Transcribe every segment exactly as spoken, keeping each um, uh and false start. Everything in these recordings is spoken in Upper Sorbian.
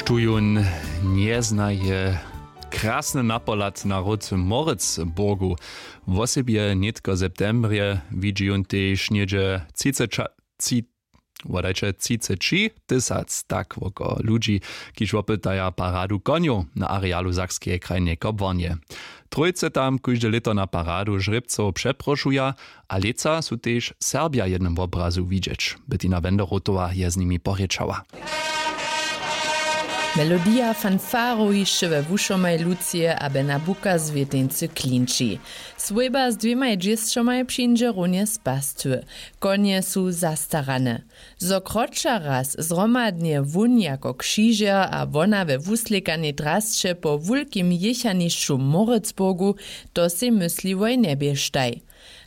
Tu jón njeznaje krasny napohlad na hród w Moritzburgu. Wosebje nětko w septembrje widźi jón tež něhdźe třiceća-, tři-, wodajće třiceći tysac, tak woko ludźi, kiž wopytaja paradu konjow na arealu Sakskeje krajneje kobłarnje. Trójce tam kóžde lěto na paradu žrěbcow přeprošuja a lětsa su tež Serbja w jednym wobrazu widźeć. Bettina Wenderotowa je z nimi porěčała. Melodija fanfarow hišće we wušomaj Lucije a Bena Buka z Wěteńcy klinči. Swójba z dwěmaj dźěsćomaj přińdźe runje z pastwy. Konje su zastarane. Zo kroća raz zhromadnje wón jako křižer a wona we wuslěkanej drasće po wulkim jěchanišću w Moritzburgu, to sej mysliłoj njeběštaj.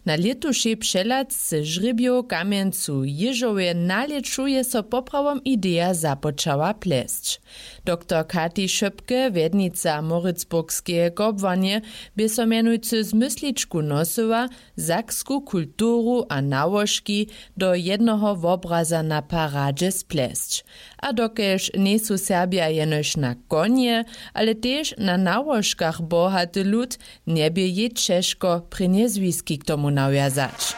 Na lětušej přehladce žrěbjow w Kamjencu w Jěžowje na lěću je so poprawom ideja započała plesć. Doktor Kati Šöpke, wjednica Moritzburgskeje kobłarnje, bě so mjenujcy z mysličku nosyła, saksku kulturu a nałožki do jednoho wobraza na paradźe splesć. A dokelž njejsu Serbja jenož na konje, ale tež na nałožkach bohaty lud, njebě jej ćežko prěnje zwiski k tomu nawjazać.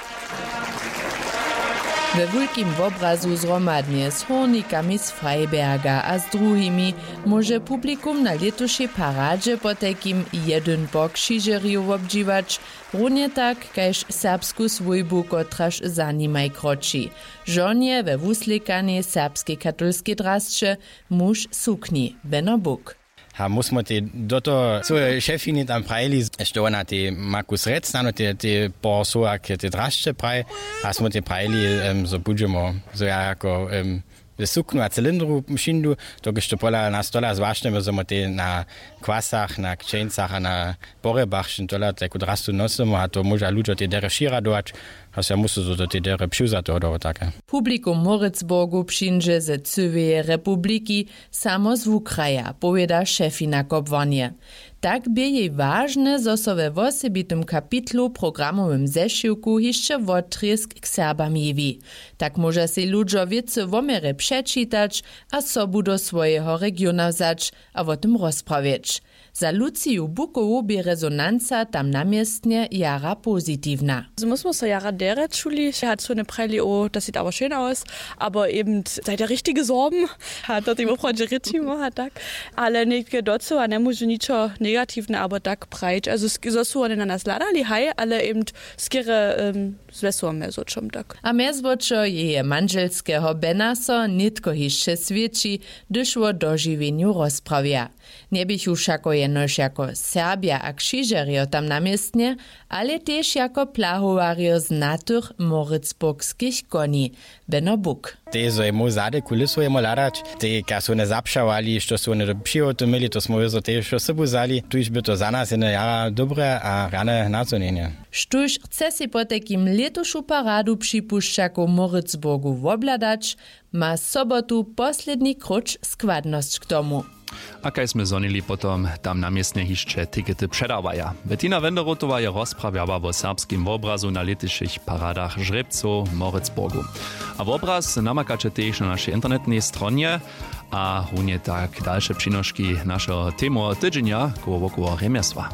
We wulkim wobrazu zhromadnje z hórnikami z Freiberga a z druhimi móže publikum na lětušej paradźe potajkim jedyn po křižerju wobdźiwać, runje tak kaž serbsku swójbu, kotraž za nimaj kroči. Žonje we wuslěkanej serbskej katolskej drasće, muž w sukni, Beno Buk. A my smo tej do toho cyłe šefini tam prajili, što ona tej ma kus rjec, snano tej, tej po słowach tej drasće praji, a smo tej prajili, em, zo budźemo, zo ja jako, em, w suknu a cylindru přińdu, dokelž to pola nas tola zwašnjemy, zo my tej na kwasach, na kćeńcach a na porjebach wšěm tola tajku drastu nosymy a to móža ludźo tej derje přiradować, a so ja musu zo do tej derje přiwzaty hodowo take. Publikum w Moritzburgu přińdźe ze cyłeje republiki, samo z wukraja, powěda šefina kobłarnje. Tak bě jej wažne, zo so we wosebitym kapitlu w programowym zešiwku hišće wotrězk k Serbam jewi. Tak móža sej ludźo wěcy wo měrje přečitać a sobu do swojeho regiona wzać a wo tym rozprawjeć. Za Luciju Bukowu bě rezonanca tam na městnje jara pozitiwna. My smo so jara derje čuli, hač su wone prajili, o, to sej dało šejn aus, abo eben, sej der richtige Sorben, a to tej woprawdźe rěčimo a tak. Ale nětke docyła njemóžu ničo negatiwne abo tak prajić, also sk-, zo su wone na nas hladali, haj, ale eben skerje, em, z wesołym mjezwočom tak. A mjezwočo jeje mandźelskeho Bena so nětko hišće swědči, hdyž wo dožiwjenju rozprawja. Njeběchu wšako jenož jako Serbja a křižerjo tam na městnje, ale tež jako plahowarjo znatych moritzburgskich koni, Beno Buk. Tej zo je móhł zady kulisu jemu hladać, tej kaž su wone zapšawali, što su wone do přihoty měli, to smo wězo tej wšo sobu wzali, tuž by to za nas jene jara dobre a rjane nazhonjenje. Štóž chce sej potajkim lětušu paradu připušćakow w Moritzburgu wobhladać, ma sobotu posledni króć składnosć k tomu. A kaž smy zhonili, potom tam na městnje hišće tikety předawaja. Bettina Wenderotowa je rozprawjała wo serbskim wobrazu na lětušich paradach žrěbcow w Moritzburgu. A wobraz namakaće tež na našej internetnej stronje a runje tak dalše přinoški našeho temoweho tydźenja koło wokoło rjemjesła.